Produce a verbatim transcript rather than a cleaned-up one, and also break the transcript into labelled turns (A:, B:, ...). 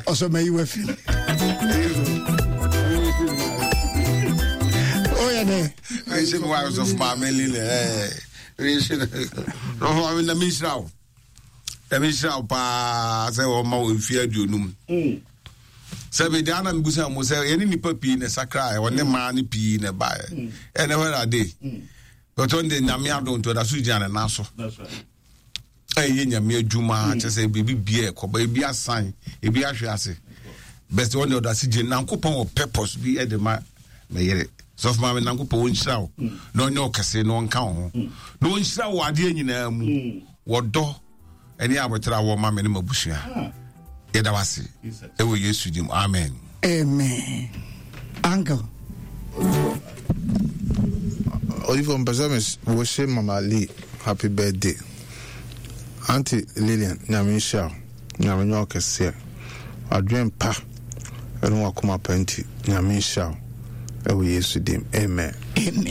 A: Ɔsɔ mayi wafi. Woyɛ dɛ?
B: Ɛhyɛ me wa sɔfo maame Lilian. Ɛɛ sɔfo maame, na menhyira wo, na menhyira wo paa sɛ wɔma wo mfeɛ aduonum. Sɛ mede ana mebusa mo sɛ yɛne nnipa pii na sakraeɛ, ɔne mmaa no pii na ɛbaeɛ. Ɛnɛ hɔ ade bɛtɔ de Nyame adom nti ɔda so gyina ne nan so ɛyɛ Nyame adwuma. Kyɛ sɛ biribi bia ɛkɔba, ebi asan, ebi ahwe ase, bɛsɛ wɔn de ɔda so gyina. Nankopɔn wɔ purpose bi ɛde ma mɛyere. Sɔfo maame, Nankopɔn ɔnhyira wo na ɔnyɛ ɔkɛse na ɔnka wo ho na ɔnhyira wo adeɛ nyinaa mu. Wɔdɔ ɛne abotire a wɔma me ne m'abusua, yɛda wase ɛwɔ Yesu dim, amen.
A: Amen. Uncle.
C: Odifo, mpɛ sɛ me wish Mama Lee happy birthday. Auntie Lillian, Nyame nhyira wo. Nyame nyɛ wo kɛseɛ. Wadwen pa ɛne wakoma pa nti, Nyame nhyira wo. Ɛwɔ Yesu dim. Amen.
A: Amen.